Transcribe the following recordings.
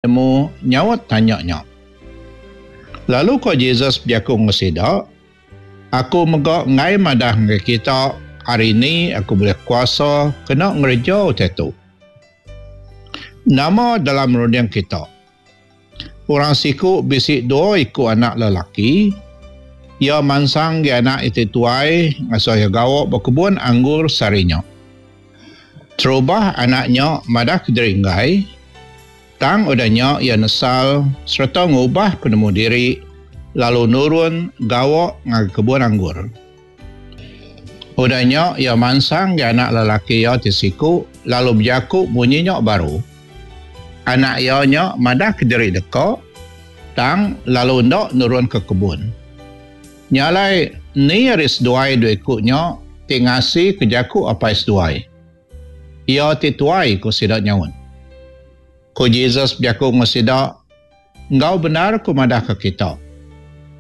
Nemu nyaut tanya nya. Lalu ko Jesus bejaku enggau sida, Aku mega enggai madah ngagai kita hari ni aku bulih kuasa kena ngereja utai tu. Nama dalam runding kita? Orang siku bisi dua iku anak lelaki. Iya mansang agi anak iya ti tuai ngasuh iya gawa ba kebun anggur sehari nya. Terubah anak nya madah kediri enggai, tang udah nya iya nesal sereta ngubah penemu diri lalu nurun gawa ngagai kebun anggur. Udah nya iya mansang ngagai anak lelaki iya ti siku lalu bejaku munyi nya baru. Anak iya nya madah kediri deka, tang lalu enda nurun ke kebun. Nya alai, ni ari seduai dua iku nya ti ngasika jaku apai seduai? Iya ti tuai, ku sida nyaut. Ku Jesus bejaku enggau sida, Enggau bendar ku madahka kita,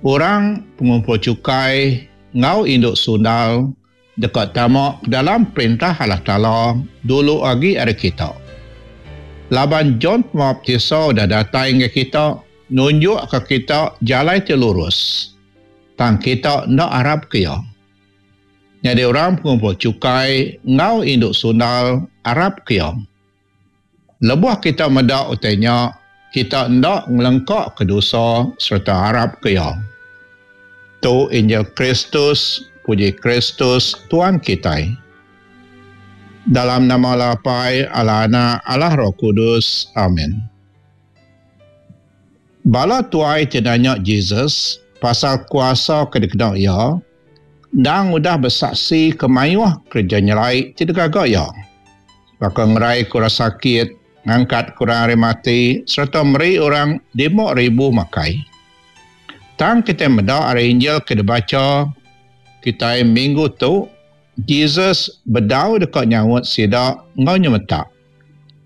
orang pengumpul chukai enggau indu sundal deka tama ke dalam Perintah Allah Taala dulu agi ari kita. Laban John Pemaptisa udah datai ngagai kita, nunjukka kita jalai ti lurus, tang kita enda arapka iya. Nyadi orang pengumpul chukai enggau indu sundal arapka iya. Lebuh kita meda utai nya, kita enda ngelengkaka dosa sereta arapka iya. Tu Injil Kristus, puji Kristus, Tuan kitai. Dalam nama Allah Apai, Allah Anak, Allah Roh Kudus. Amin. Bala tuai ti nanya Jesus pasal kuasa ke dikena iya, endang udah besaksi ke mayuh kereja nyelai ti digaga iya. Baka ngeraika orang sakit, ngangkatka orang ari mati sereta meri orang 5000 makai. Tang kitai meda ari Injil ke dibacha kitai minggu tu, Jesus bedau deka nyaut sida enggau nyemetak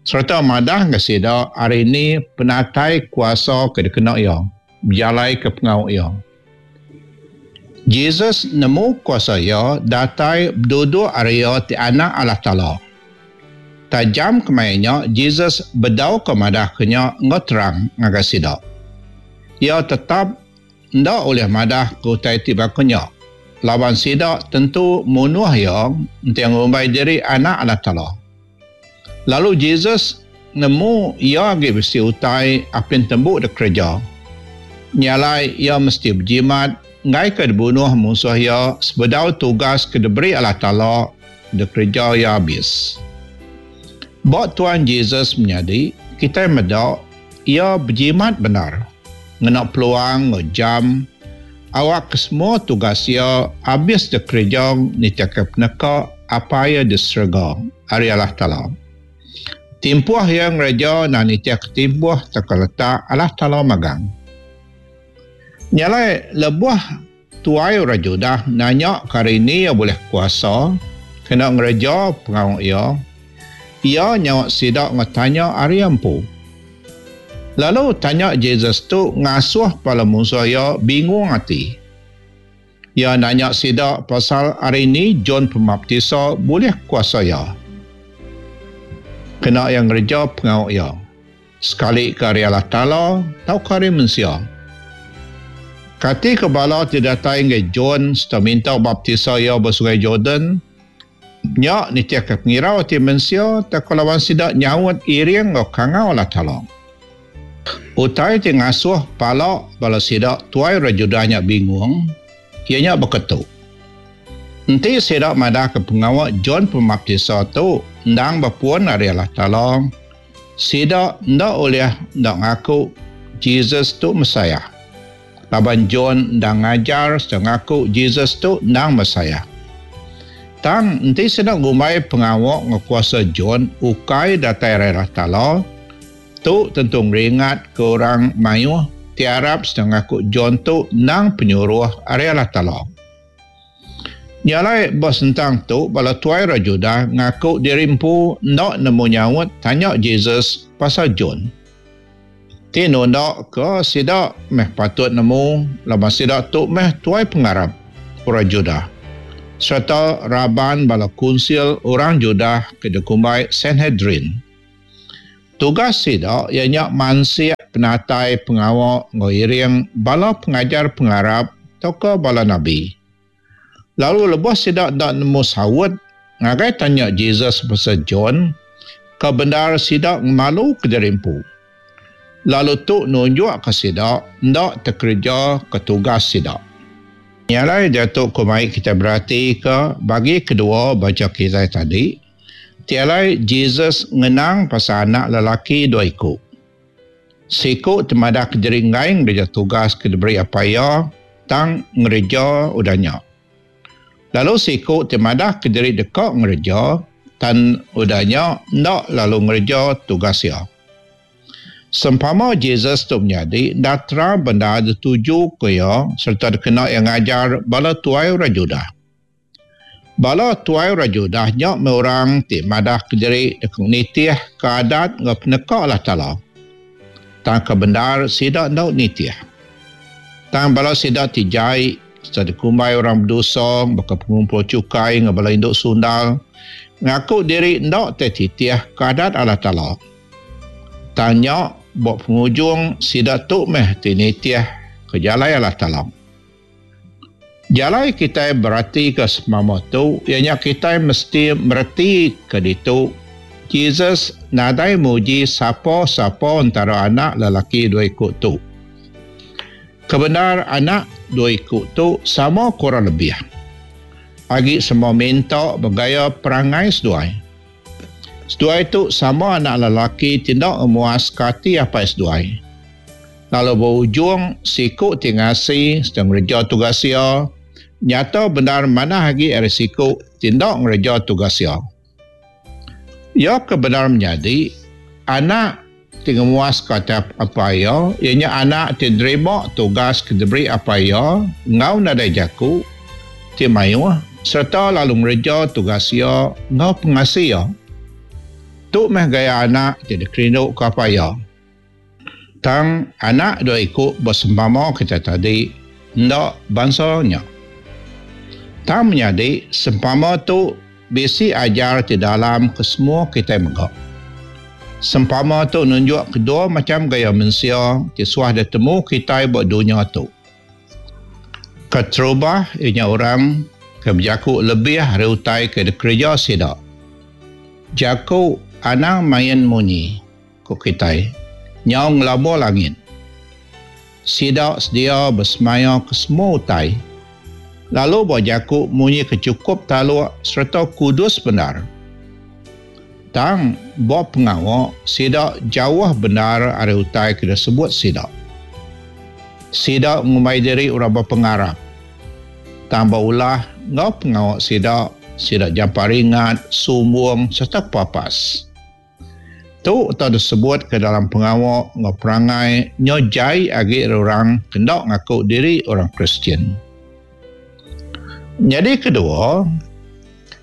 sereta madah ngagai sida ari ni penatai kuasa ke dikena iya bejalaika pengawa iya. Jesus nemu kuasa iya datai beduduk ari iya ti Anak Allah Taala. Tajam kemaya nya Jesus bedau ka madahka nya enggau terang ngagai sida. Iya tetap enda ulih madahka utai ti baka nya laban sida tentu munuh iya enti ngumbai diri Anak Allah Taala. Lalu Jesus nemu iya agi bisi utai apin tembu dikereja. Nya alai iya mesti bejimat enggaika dibunuh munsuh iya sebedau tugas ke diberi Allah Taala dikereja iya abis. Ba Tuan Jesus menyadi, kitai meda iya bejimat bendar ngena peluang enggau jam awakka semua tugas iya abis dikereja nitihka peneka Apai iya di serega, ari Allah Taala. Timpuh iya ngereja endang nitihka timpuh tauka letak Allah Taala magang. Nya alai lebuh tuai orang Judah nanya ke hari ni iya bulih kuasa kena ngereja pengawa iya, iya nyaut sida enggau tanya ari iya empu. Lalu tanya Jesus tu ngasuh bala munsuh iya bingung ati. Iya nanya sida pasal ari ni John Pemaptisa bulih kuasa iya kena iya ngereja pengawa iya, sekalika ari Allah Taala tauka ari mensia. Kati ke bala ti datai ngagai John sereta minta baptisa iya ba Sungai Jordan nya nitihka pengirau ati mensia tauka laban sida nyaut iring enggau kangau Allah Taala? Utai ti ngasuh pala bala sida tuai orang Judah nya bingung, iya nya baka tu. Enti sida madahka pengawa John Pemaptisa tu endang bepun ari Allah Taala, sida enda ulih enda ngaku Jesus tu Messiah, laban John endang ngajar sereta ngaku Jesus tu endang Messiah. Tang enti sida ngumbai pengawa enggau kuasa John ukai datai ari Allah Taala, Tu tentu ngeringatka orang mayuh ti arap sereta ngaku John tu endang penyuruh ari Allah Taala. Nya alai ba sentang tu bala tuai orang Judah ngaku diri empu enda nemu nyaut tanya Jesus pasal John. Ti nunda ke sida meh patut nemu laban sida tu meh tuai pengarap orang Judah sereta raban bala kunsil orang Judah ke dikumbai Sanhedrin. Tugas sida iya nya mansik penatai pengawa enggau iring bala pengajar pengarap tauka bala nabi. Lalu lebuh sida enda nemu saut ngagai tanya Jesus pasal John, ke bendar sida ngemaluka diri empu. Lalu tu nunjukka sida enda tekerejaka tugas sida. Nya alai diatu ku mai kitai beratika bagi kedua bacha kitai tadi, ti alai Jesus ngenang pasal anak lelaki dua iku. Siku ti madahka diri enggai ngereja tugas ke diberi apai iya tang ngereja udah nya. Lalu siku ti madahka diri deka ngereja tang udah nya enda lalu ngereja tugas iya. Sempama Jesus tu menyadi enda terang bendar ditujuka iya sereta dikena iya ngajar bala tuai orang Judah. Bala tuai orang Judah nya meh orang ti madahka diri deka nitihka adat enggau peneka Allah Taala. Tang ke bendar sida enda nitih. Tang bala sida ti jai sereta dikumbai orang bedosa baka pengumpul chukai enggau bala indu sundal ngaku diri enda tetitihka adat Allah Taala. Tang nya, ba pengujung sida tu meh ti nitih ke jalai Allah Taala. Jalai kitai beratika semama tu iya nya kitai mesti meretika ditu Jesus nadai muji sapa-sapa entara anak lelaki dua iku tu. Kebendar anak dua iku tu sama kurang lebih. Agi semua minta begaya perangai seduai. Seduai tu sama anak lelaki ti enda ngemuaska ati apai seduai. Lalu ba ujung, siku ti ngasi sereta ngereja tugas iya, nyata bendar manah agi ari siku ti enda ngereja tugas iya. Iya ke bendar menyadi, anak ti ngemuaska ati apai iya, iya nya anak ti nerima tugas ke diberi apai iya enggau nadai jaku ti mayuh sereta lalu ngereja tugas iya enggau pengasi iya. Tu meh gaya anak ti dikerinduka apai iya. Tang anak dua iku ba sempama kitai tadi enda bansa nya. Tang menyadi sempama tu bisi ajar ti dalam ke semua kitai mega. Sempama tu nunjuk kedua macham gaya mensia ti suah ditemu kitai ba dunya tu. Keterubah iya nya orang ke bejaku lebih ari utai ke dikereja sida. Jaku anang main munyi. Ku kitai, nyau ngelabur langit. Sida sedia besemaya ke semua utai, lalu ba jaku munyi ke chukup taluk sereta kudus bendar. Tang, ba pengawa, sida jauh bendar ari utai ke disebut sida. Sida ngumbai diri orang bepengarap, tang ba ulah enggau pengawa sida, sida jampat ringat, sumbung sereta kepapas. Tu tau disebut ke dalam pengawa enggau perangai nyau jai agi ari orang ke enda ngaku diri orang Kristian. Nyadi kedua,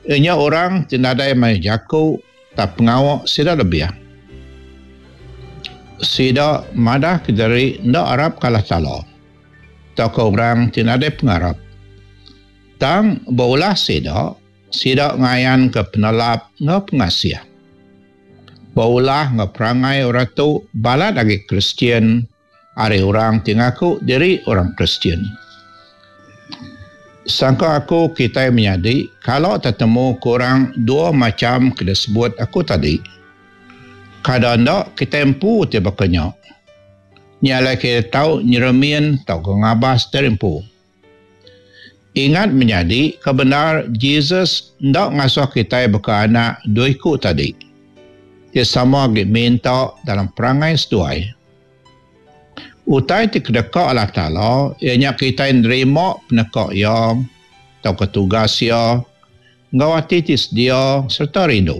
iya nya orang ti nadai mayuh jaku tang pengawa sida lebih. Sida madah ke diri enda arap ke Allah Taala tauka orang ti nadai pengarap. Tang ba ulah sida, Sida ngayanka penelap enggau pengasih. Ba ulah enggau perangai orang tu balat agi Kristian ari orang ti ngaku diri orang Kristian. Sangka aku kitai menyadi kala tetemu ke orang dua macham ke disebut aku tadi. Kada enda kitai empu ti baka nya. Nya alai kitai tau nyeremin tauka ngabas diri empu. Ingat menyadi, ke bendar Jesus enda ngasuh kitai baka anak dua iku tadi, ti sama agi minta dalam perangai seduai. Utai ti kedeka Allah Taala iya nya kitai nerima peneka Iya tauka tugas Iya enggau ati ti sedia sereta rindu.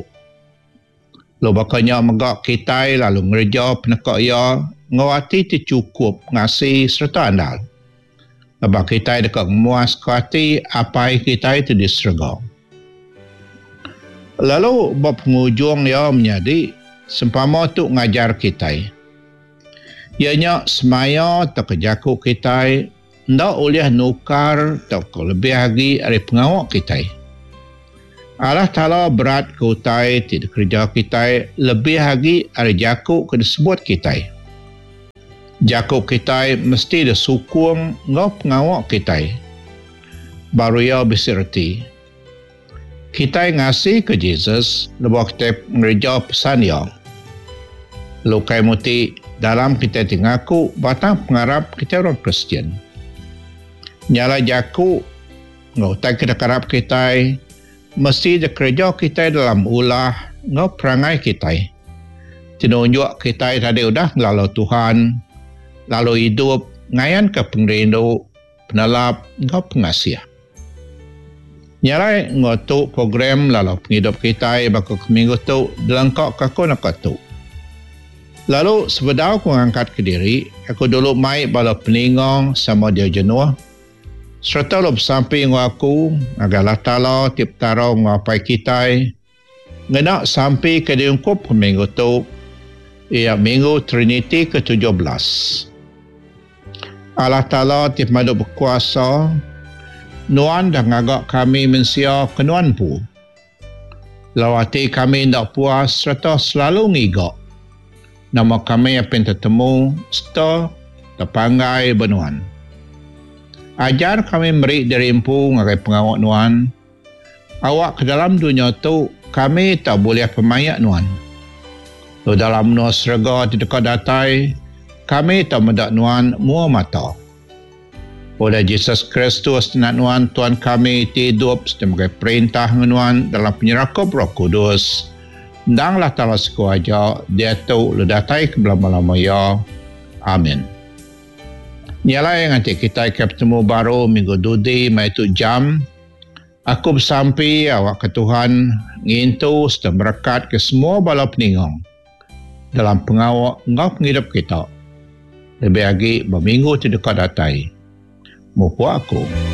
Lalu baka nya mega kitai lalu ngereja peneka Iya enggau ati ti chukup ngasi sereta andal. Laban kitai deka ngemuaska ati Apai kitai ti di serega. Lalu ba pengujung iya menyadi, sempama tu ngajar kitai, iya nya semaya tauka jaku kitai enda ulih nukar tauka lebih agi ari pengawa kitai. Allah Taala berat ke utai ti dikereja kitai lebih agi ari jaku ke disebut kitai. Jaku kitai mesti disukung enggau pengawa kitai. Baru iya bisi reti. Kitai ngasika Jesus lebuh kitai ngereja pesan iya. Lalu ukai muti dalam kitai ti ngaku batang pengarap kitai orang Kristian. Nya alai jaku enggau utai ke dikarap kitai mesti dikereja kitai dalam ulah enggau perangai kitai ti nunjuk kitai tadi udah ngelalau Tuhan lalu idup ngayanka pengerindu, penelap enggau pengasih. Nya alai enggau tu program lalau pengidup kitai baka ke minggu tu dilengka ke aku naka tu. Lalu sebedau aku ngangkat kediri, aku dulu mai bala peninga sama dia jenuh sereta lalu besampi enggau aku ngagai Allah Taala ti Petara enggau Apai kitai ngena sampi ke diungkup ke minggu tu iya Minggu Triniti ke 17. Allah Taala ti pemadu bekuasa, Nuan dah ngaga kami mensia ke Nuan empu. Lalu ati kami enda puas sereta selalu ngiga nama kami apin tetemu sereta tepanggai ba Nuan. Ajar kami meri diri empu ngagai pengawa Nuan, Awak ke dalam dunya tu kami tau bulih pemaik Nuan. Lalu dalam menua serega ti deka datai, kami tau meda Nuan mua mata. Oleh Jesus Kristus Anak Nuan Tuan kami ti idup sereta megai perintah enggau Nuan dalam penyerakup Roh Kudus, endang Allah Taala siku aja, diatu lalu datai ke belama-lama iya. Amin. Nya alai nganti kitai ke betemu baru minggu dudi maya tu jam, Aku besampi awakka Tuhan ngintu sereta merekatka semua bala peninga dalam pengawa enggau pengidup kita, lebih agi ba minggu ti deka datai. Mupuk aku.